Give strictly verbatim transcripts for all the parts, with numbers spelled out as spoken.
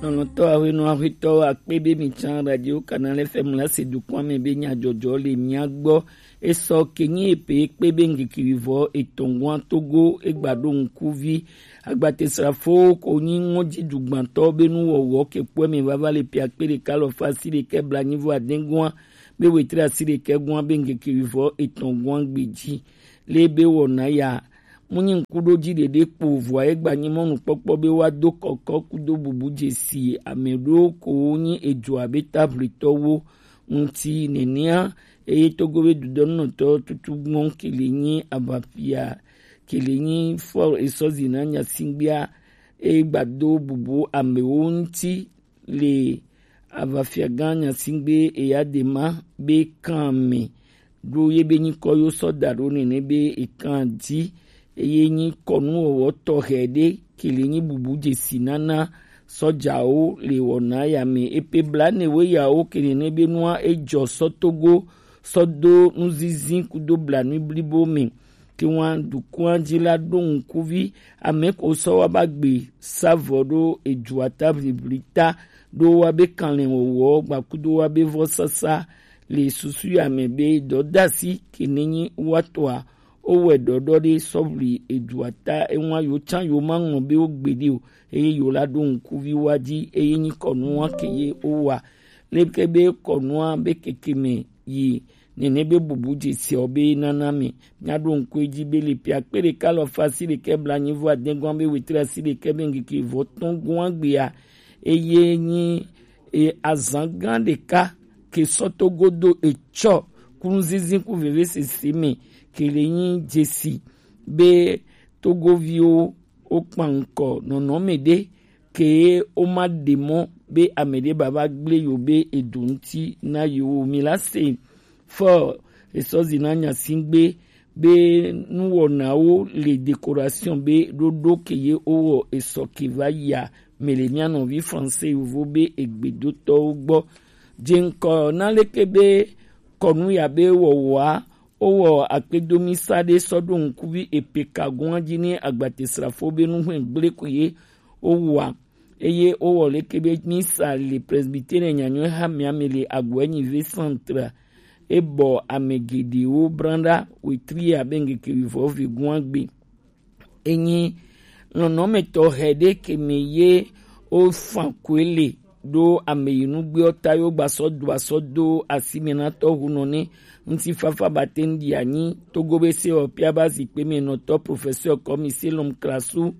Nɔnɔtɔ ahwenu ahwetɔ akpe be mi can Radio Canal F M la se dukɔn me be nyajɔjɔ le mia gbɔ. Esɔ kenyi epe kpe be ngeke wivɔ etɔn gwan Togo egba ɖo ŋkuvi. Agbatesrafo ko nyi ŋɔji dugbantɔ be nu wɔwɔ ke kpɔe me vava le pia kpe ɖeka lɔ fasi ɖekɛ bla nyivo adɛn gwan be wetre asi ɖekɛ gwan be ngeke wivɔ etɔn gwan gbeji. Le be wɔna ya Mu nyi ŋkuɖoji ɖeɖe kpo vɔa egba nyi mɔnukpɔkpɔ be wa do kɔkɔ kudo bubu jesi ame ɖo ko nyi edzo abe tablitɔwo ŋuti nenea. Eye Togo be dudɔnunɔtɔ tutu gbɔn kele nyi abafia kele nyi fɔ esɔzi na nyasingbia eye gbado bubu amewo ŋuti le avafiagã Nyasingbe Eyadema be kan me ɖo ye be nyikɔ yo sɔ da ɖo nene be ekan di eye nyi kɔnu wɔwɔ tɔxɛ ɖe kele nyi bubu jesi nana sɔjawo le wɔna ya me epe bla ne we yawo kele ne be nua ejɔ sɔ Togo sɔ do nuzizi kudo bla nu blibo me. Ke wan dukɔn ji la ɖo ŋkuvi ame ko sɔ wa ba gbe savɔ ɖo edzua ta ʋliʋli ta ɖo wa be kanlɛ wɔwɔ gbakudo wa be vɔ sasa le susu ya me be dɔdasi ke ne nyi wa tɔa o wɛ ɖɔɖɔ ɖe sɔ ʋli edzua ta ewa yo can yo ma ŋlɔ be o gbe ɖe o eye yo la ɖo ŋkuvi wa ji eye nyi kɔnu wa ke ye o wa leke be kɔnua be keke me yi nene be bubu jesi ɔ be nana mi. Mia ɖo ŋku edzi be le pia kpe ɖeka lɔ fa asi ɖekɛ bla nyi vɔ adɛgɔn be wetri asi ɖekɛ be ŋkeke vɔ tɔn gɔn agbea eye nyi e azan gã ɖeka ke sɔ to godo etsɔ kunzizi ku veve sese me ke le nyi jesi be togoviwo wo kpan ŋkɔ nɔnɔme ɖe ke wo ma ɖe mɔ be ame ɖe baba gble yo be edo ŋuti na yo mi la se fɔ esɔzi na nyasingbe be nuwɔnawo le décoration be ɖoɖo ke ye wowɔ esɔ ke va yia me le mia nɔvi français yovo be egbedotɔwo gbɔ. Dze ŋkɔ na leke be kɔnu ya be wɔwɔa wowɔ akpedomisa ɖe sɔ ɖo ŋkuvi epeka gɔn dzi ne agbatesrafo be nuhwɛ gble ko ye wowɔa eye wowɔ leke be misa le presbytere nyanyɔe ha mia me le agbɔɛ nyi ve centre ebɔ ame geɖewo branɖa wetri abe ŋkeke vivɔ ve gɔn agbe. Enyi lɔnɔmetɔ hɛ ɖe ke me ye wo fan koe le ɖo ame yi nugbe ɔ ta yo gba sɔ do asɔ do asi me na tɔ hu nɔ ne ŋutifafa ba te ŋdi anyi togo be se ɔ pia ba zikpe me nɔtɔ professeur kɔmi selom krasu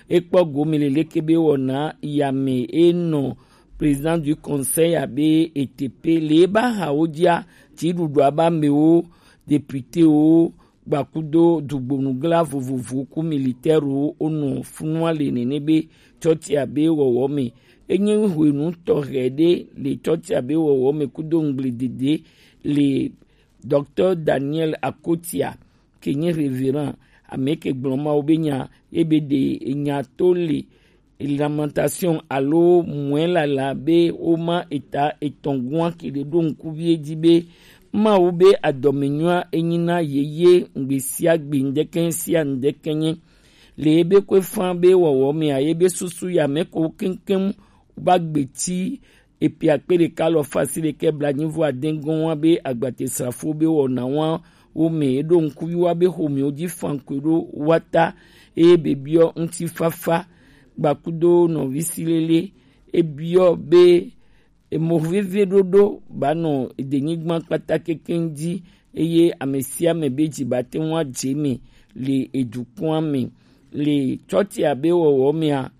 ekpɔ gome le leke be wɔna yame enɔ président du conseil abe etepe le ba ha wo dia ti ɖuɖu aba mewo député wo gbakudo dugbonugla vovovo ku militaire wo wonɔ funua le nene be tsɔtsia be wɔwɔ me. Enyi hwenu tɔxɛ ɖe le tsɔtsia be wɔwɔ me kudo ŋgble dede le docteur Daniel Akotia ke nyi révérend ame ke gblɔ mawo be nya ebe ɖe enya to le lamentation alo mɔe lala be woma eta etɔn gɔn ke ɖe ɖo ŋkuvi edzi be Mawu be adɔmenyua enyi na yeye ŋgbe sia gbe ŋdeke sia ŋdeke nye le ebe kwe fan be wɔwɔ mea ye be susu ya me ko keŋkeŋ va gbeti epi akpe ɖeka lɔ fa asi ɖekɛ bla nyi vɔ adɛn gɔn wa be agbate srafo be wɔna wa wo me eɖo ŋkuvi wa be xomewo dzi fan koe ɖo wa ta eye be biɔ ŋutifafa gbakudo nɔvi si lele ebiɔ be emɔ veve ɖoɖo ba nɔ edenyigba kpata kekeŋ dzi eye ame sia ame be dzi ba te ŋu adze me le edukɔa me le tsɔtsia be wɔwɔ mea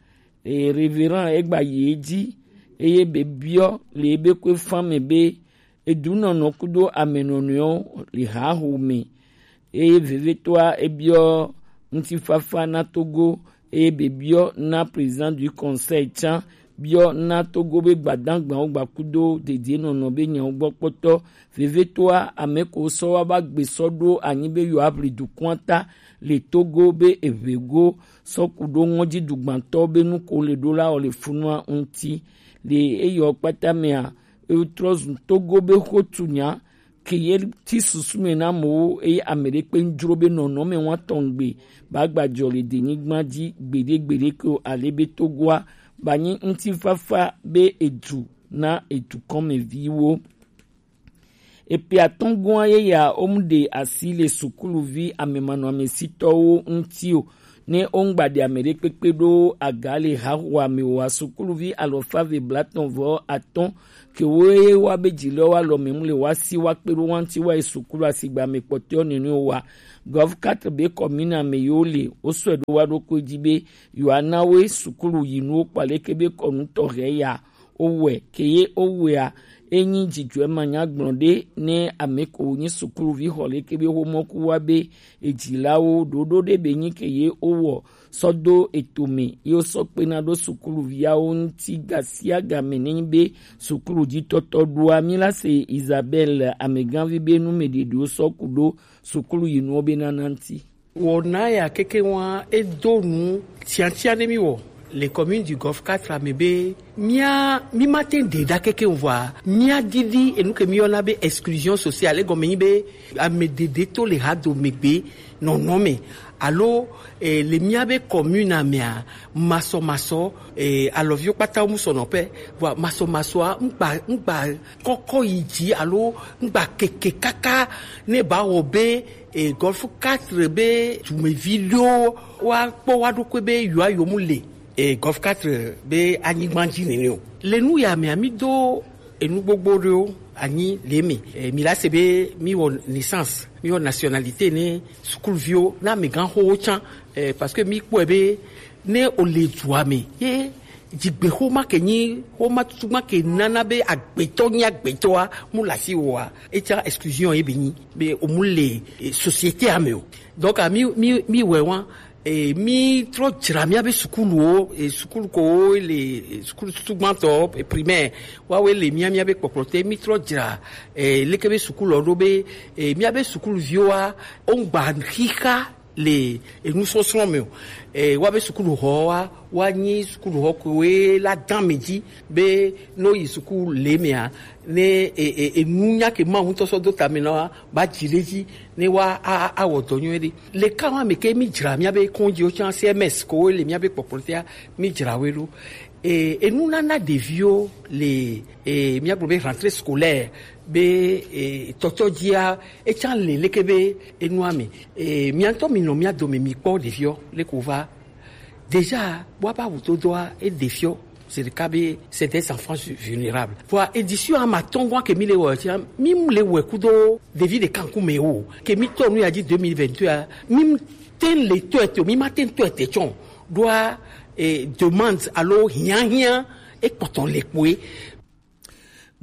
e révérend egba yi edzi eye be biɔ le ebe kwe fan me be edunɔnɔ kudo amenɔnɔewo le haho me eye vevetɔa ebiɔ ŋutifafa na Togo eye be biɔ na président du conseil tsã biɔ na Togo be gbadagbawo gbakudo dedienɔnɔ be nyawo gbɔ kpɔtɔ vevetɔa ame ko sɔ wa ba gbe sɔ ɖo anyi be yewoaʋli dukɔa ta le Togo be eʋego sɔ ku ɖo ŋɔdzi dugbantɔ be nu ko le ɖo la wɔ le funua ŋuti le eyɔ kpata mea etrɔ zu Togo be xotunya ke ye ti susu me na amewo eye ame ɖe kpe ŋdzro be nɔnɔme wa tɔn gbe ba gba dzɔ le denyigba dzi gbeɖe gbeɖe ke o ale be Togoa Banyi ŋutifafa be edu na edukɔnmeviwo. Epe atɔngɔn yeya wo mu ɖe asi le sukuluvi amemanɔamesitɔwo ŋuti o. Ne wo ŋgba ɖe ame ɖe kpekpe ɖo aga le haxoa me o, sukuluvi alɔfave blatɔn vɔ atɔn ke wo ye wa be dzi le wa lɔ me mu le wa si wa kpe ɖo wa ŋuti wa yi sukulu asigba me kpɔtɔ nene o wa. Gov quatre be kɔmina me yo le wo sɔe ɖo wa ɖo ko dzi be yo ana wo sukulu yi nuwo kpa leke be kɔnu tɔxɛ ya. Owɛ ke ye owɛa, enyi dzidzɔe manyagblɔ ɖe ne ame ko nyi sukuluvi xɔ leke be xomɔku wa be edzilawo ɖoɖo ɖe be nyi ke ye owɔ sɔ do etome ye wosɔ kpena ɖo sukuluviawo ŋuti gasiagame ne nyi be sukulu dzi tɔtɔ ɖoa. Mi la se Isabel ameganvi be nu me ɖeɖewo sɔ ku ɖo sukulu yi nuwo be nana ŋuti. Wɔna ya keke wa edo nu tiatia ne mi wɔ le commune du Golfe quatre me be mia mi ma te ɖe ɖa keke vɔa mia didi enu ke mi yɔna be exclusion sociale egɔme nyi be ame ɖeɖe to le ha do megbe nɔnɔ me alo eh, le mia be commune mea masɔmasɔ eh, alɔviwo kpata mu sɔ nɔƒe vɔa masɔmasɔa ŋgba ŋgba kɔkɔ yi dzi alo ŋgba keke kaka ne ba wɔ be e, Golfe quatre be dumevi ɖewo wa kpɔ wa ɖokui be yewoa yewo mu le e, Golfe quatre be anyigba dzi nene o. Le nu ya mea mi do enu gbogbo ɖewo anyi le me e, mi la se be mi wɔ naissance mi wɔ nationalité ne sukuluviwo na amegãxowo tsã e, parce que mi kpɔe be ne o le dua me ye dzigbexoma ke nyi xoma tutu ma ke nana be agbetɔ nyi agbetɔa mu le asi wɔa etsa exclusion ye be nyi be o mu le eh, société ame o donc a mi mi mi wɛ wa eh, mi trɔ dzra mia be sukuluwo eh, sukulu ko le eh, sukulu tutu gbãtɔ eh, primaire wa we le mia mia be kpɔkplɔ te mi trɔ dzra eh, leke be sukulu ɖo be eh, mia be sukuluviwo wa o ŋgba xixa le enusɔsrɔ̃ me o. E, woabe sukuɖuxɔ wa woanyi sukuɖuxɔ koe la dã ame dzi be ne woyi suku le mea ne e, e, enu nya ke Mawu ŋutɔ sɔ do tame na wa ba dzi ɖe dzi ne wa a- a- awɔ dɔ nyuie ɖe. Le ka wa me ke mi dzra miabe kɔndziwo tsã C M S kowo le miabe kpɔkplɔtea mi dzra woe ɖo. E, enu nana ɖeviwo le e, míagblɔ be rentrée scolaire be e, tɔtɔ dzia etsã le leke be enua me e, mía ŋutɔ mi nɔ mía dome mi kpɔ ɖeviɔ leke wova déjà woaba wudodoa eɖe fiɔ c'est le cas be c'est des enfants vulnérables vɔa édition ama tɔngɔa ke mi le wɔ tia mi le wɔ kudo ɖevi ɖeka ŋkume o ke mi tɔ nu ya dzi deux mille vingt-deux a mi te le tɔ ete o mi ma te tɔ ete tsɔ ɖoa eh, demande alo hiahiã ekpɔtɔ le kpoe.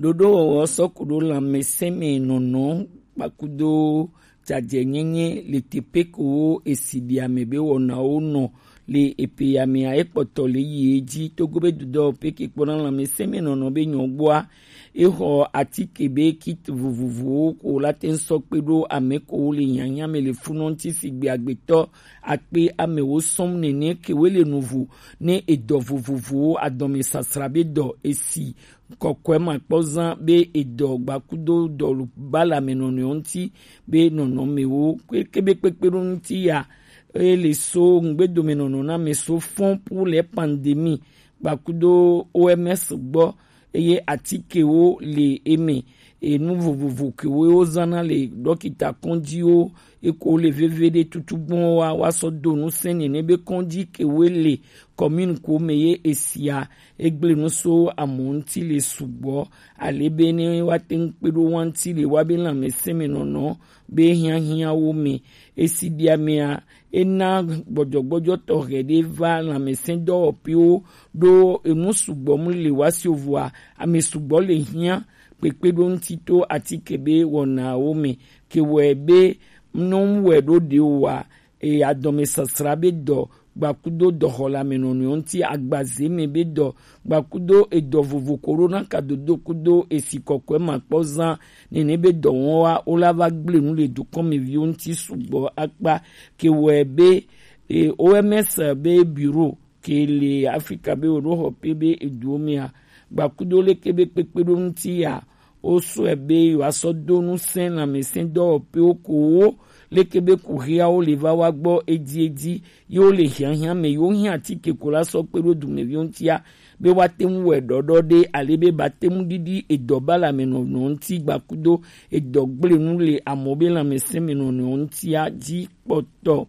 Ɖoɖowɔwɔ sɔku ɖo lãmesẽme nɔnɔ kpakudo dzadzɛnyenye le teƒe kowo esi ɖi ame be wɔnawo nɔ le epe ya mea ekpɔtɔ le yi edzi togo be dudɔ peke kpɔna lãmesẽme nɔnɔ be nyɔgbɔa exɔ atike be kit vovovowo ko la te ŋu sɔ kpe ɖo ame kowo le hiahiã me le funɔ ŋuti sigbe agbetɔ akpe amewo sɔm nene kewoe le nuvo ne edɔ vovovowo adɔmesasra be dɔ esi kɔkɔe makpɔ zã be edɔ gbakudo dɔ bala me nɔnɔewo ŋuti be nɔnɔmewo kebe kpekpe ɖo ŋuti ya eye le so ŋgbedomenɔnɔ na me so fɔn pour les pandémies gbakudo O M S gbɔ eye atikewo le eme enu vovovo kewo wozãna le ɖɔkita kɔndziwo eko le veve ɖe tutu gbɔn wa wa sɔ do nu sɛn nene be kɔndzi kewo le commune ko me ye esia egble nu so amewo ŋuti le sugbɔ ale be ne wa te ŋu kpe ɖo wa ŋuti le wa be lãmesẽ me nɔnɔ be hiahiãwo me esi ɖia mea ena gbɔdzɔgbɔdzɔ tɔxɛ ɖe va lãmesẽdɔwɔƒewo ɖo enu sugbɔ mu le woasi ovɔa ame sugbɔ le hiã kpekpe ɖo ŋuti to atike be wɔnawo me ke wɔe be nɔnu wɔe ɖo ɖe oa eye adɔmesasra be dɔ gbakudo dɔxɔleamenɔnɔewo ŋuti agbaze me be dɔ gbakudo edɔ vovo ko ɖo na kadodo kudo esi kɔkɔe makpɔ zã nene be dɔwɔn wa wo la va gble nu le dukɔmeviwo ŋuti sugbɔ akpa ke wɔe be e, O M S be bureau ke le Afrika be woɖo xɔ pe be eduwo mea gbakudo leke be kpekpe ɖo ŋuti ya wosɔe be yewoasɔ do ŋusẽ lãmesẽdɔwɔƒewo kowo leke be kuxiawo le va wa gbɔ edi edi, ye wo le hiahiã me, ye wo hiã atike ko la sɔ kpe ɖo dumeviwo ŋutia, be woate ŋu wɔe ɖɔɖɔ ɖe, ale be ba te ŋu ɖiɖi edɔ ba le ame nɔnɔ ŋuti gbakudo edɔ gblẽ nu le amewo be lãmesẽ me nɔnɔ ŋutia dzi kpɔtɔ.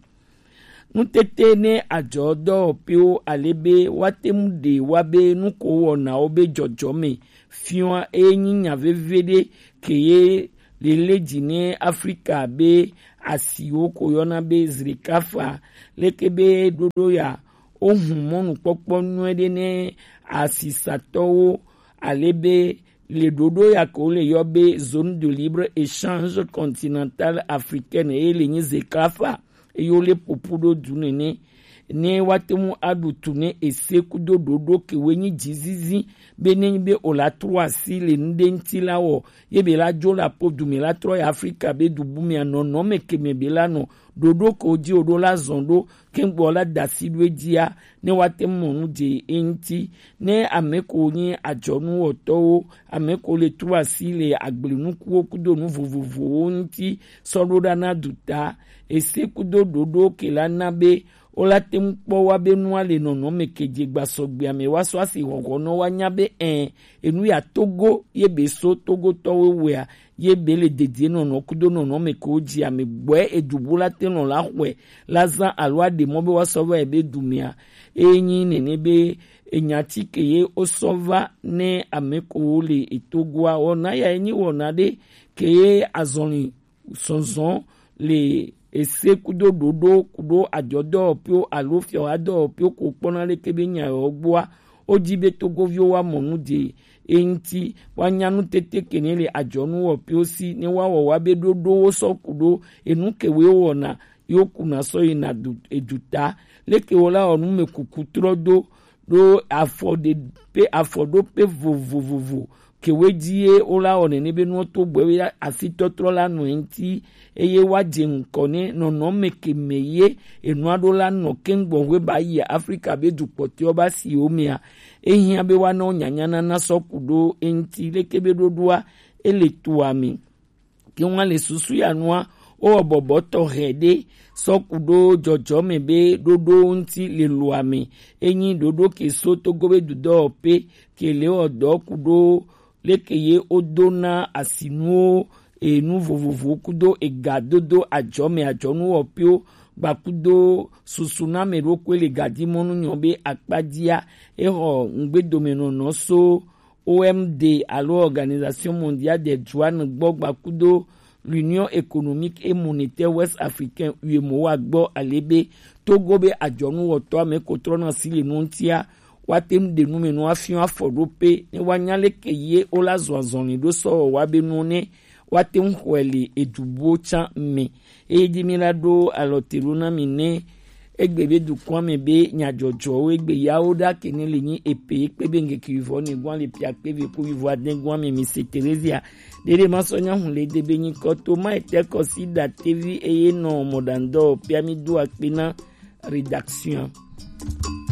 Nutete ne adzɔ dɔwɔƒewo ale be woate ŋu ɖe wa be nu ko wɔnawo be dzɔdzɔ me fiɔa eye nyi nya veve ɖe ke ye lele dzi ne Afrika be asiwo ko yɔna be zrikafa leke be ɖoɖo ya wohu mɔnukpɔkpɔ nyuie ɖe ne asisatɔwo ale be le ɖoɖo ya ke wole yɔ be zone de libre échange continentale africaine eye le nyi zekafa eye wole ƒoƒu ɖo du nene ne woate ŋu aɖu tu ne ese kudo ɖoɖo kewoe nyi dzizizi be ne nyi be wòla trɔ asi le nu ɖe ŋuti la wɔ ye be la dzo le aƒo du me la trɔ yi Afrika be du bu mea nɔnɔme ke me be la nɔ ɖoɖo ke wodzi wòɖo la zɔn ɖo kɛŋgbɔ la da asi ɖo edzia ne woate ŋu mɔ nu dze eŋuti. Ne ame ko nyi adzɔnuwɔtɔwo, ame ko le trɔ asi le agblenukuwo kudo nu vovovowo ŋuti sɔ ɖo ɖa na duta, ese kudo ɖoɖo ke la na be wola te ŋu kpɔ wa be nua le nɔnɔme ke dze gbasɔgbea me wa sɔ asi xɔxɔ nɔ wa nya be ɛ enu ya Togo ye be so Togotɔwo wɔea ye be le dedienɔnɔ kudo nɔnɔme kewo dzi ame gbɔe edu bu la te nɔ la xɔe la zã alo aɖe mɔ be woasɔ va yi be dumea. Eye nyi nene be enya ti ke ye wosɔ va ne ame kewo le etogoa wɔna ya ye nyi wɔna ɖe ke ye azɔli zɔzɔ le ese kudo ɖoɖo kudo adzɔdɔwɔƒewo alo fiɔhadɔwɔƒewo ko kpɔna leke be nya yewo gbɔa wodi be togoviwo woamɔ nu dze eŋuti woanya nutete ke ne le adzɔnuwɔƒewo si ne woawɔ wa be ɖoɖowo sɔ ku ɖo enu ke woe wɔna yewo kuna sɔ yina du eduta leke wo la wɔ nu me kuku trɔ do ɖo afɔ ɖe pe afɔ ɖo pe vovovovo kewe dzi ye wo la wɔ nene be nuwo to gbɔ ye afitɔtrɔ la nɔ eŋuti eye woadze ŋkɔ ne nɔnɔme ke me ye enua ɖo la nɔ keŋgbɔ hoe ba yi Afrika be dukpɔtɔewo ba si wo mea ehiã be woana wo nyanya nana sɔ ku ɖo eŋuti leke be ɖoɖoa ele toa me. Ke ŋua le susu ya nua wowɔ bɔbɔ tɔxɛ ɖe sɔ ku ɖo dzɔdzɔme be ɖoɖo ŋuti le loa me. Enyi ɖoɖo ke so togo be dudɔwɔƒe ke le wɔ dɔ ku ɖo leke ye wodona asinuwo enu vovovowo kudo ega dodo adzɔme adzɔnuwɔƒewo gbakudo susu na ame ɖokui le gadimɔnu nyɔ be akpadzia exɔ ŋgbedomenɔnɔ so O M D alo Organisation Mondiale des Droits gbɔ gbakudo l'Union économique et monétaire ouest africaine U E M O A gbɔ ale be Togo be adzɔnuwɔtɔ ame ko trɔna si le nu ŋutia woate ŋu ɖe nu me nu afiɔ afɔ ɖo pe ne woanya leke ye wo la zɔ azɔli ɖo sɔ wɔ wa be nu ne woate ŋu xɔe le edubuwo tsã me. Eye dzi mi la ɖo alɔ te ɖo na mi ne egbe be dukɔa me be nyadzɔdzɔwo egbe yawo ɖa ke ne le nyi epe kpe be ŋkeke wivɔ ne gɔa le pia kpe ve ku wivɔ ade gɔa me mi se Terezia ɖeɖe ma sɔ nya hu le de be nyi kɔto ma ete kɔsi da tevi eye nɔ mɔɖaŋdɔ pia mi do akpe na rédaction.